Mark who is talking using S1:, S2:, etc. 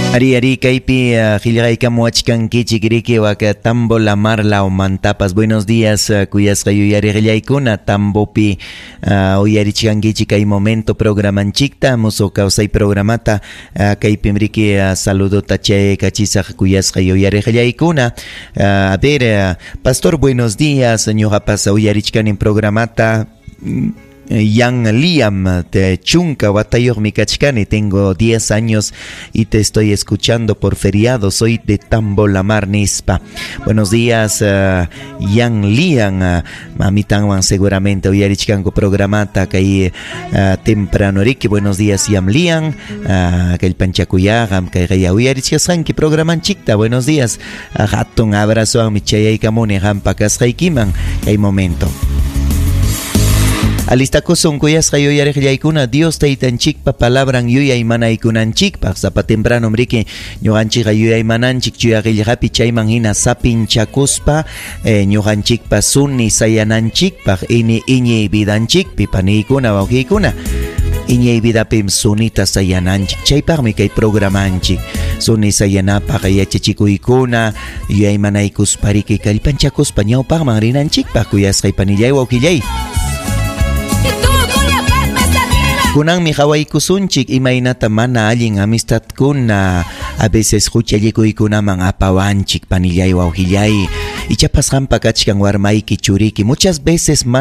S1: Ari ari kaypi qillqaykamuwachkankichik riki waka Tambo Lamar lawmantapas. Buenos días, kuyasqa yuyariqllaykuna Tambopi uyarichkankichik kay momento programanchikta, Musuq Kawsay programata. Kaypim riki saludota chayaykachisaq kuyasqa yuyariqllaykuna. A ver, pastor, buenos días, ñuqapas uyarichkanim programata. Yan Liam, te chunka watayuqmi kachkani, tengo 10 años y te estoy escuchando por feriado, soy de Tambo Lamar nispa. Buenos días, Yan Liam, mamitanwan seguramente uyarichkanku programata kay temprano riki. Buenos días, Yan Liam, kallpanchakuyaqam kay uyarichkasqanki programanchikta. Buenos días, hatun abrazowanmi chayaykamuni qampa kasqaykiman kay momento. Alistakusun kuyasqa yuyariqllaykuna Dios taytanchikpa palabran yuyaymanaykunanchikpaq. Sapa temprano riki ñuqanchikqa yuyaymananchik chuya qillqapi chayman hina sapinchakuspa ñuqanchikpa suni sayananchikpaq ini iñiy vidanchikpi paniykuna wawqiykuna. Iñiy vidapim sunita sayananchik, chaypaqmi kay programanchik suni sayanapaq yachachikuykuna yuyaymanaykuspa riki kallpanchakuspa ñawpaqman rinanchikpaq kuyasqay panillay wawqillay. Kunanmi qawaykusunchik imaynata mana allin amistadkuna a veces huchallikuykunaman apawanchik panillay wawqillay. Ichapas qampa kachkan warmayki churiki muchas veces mana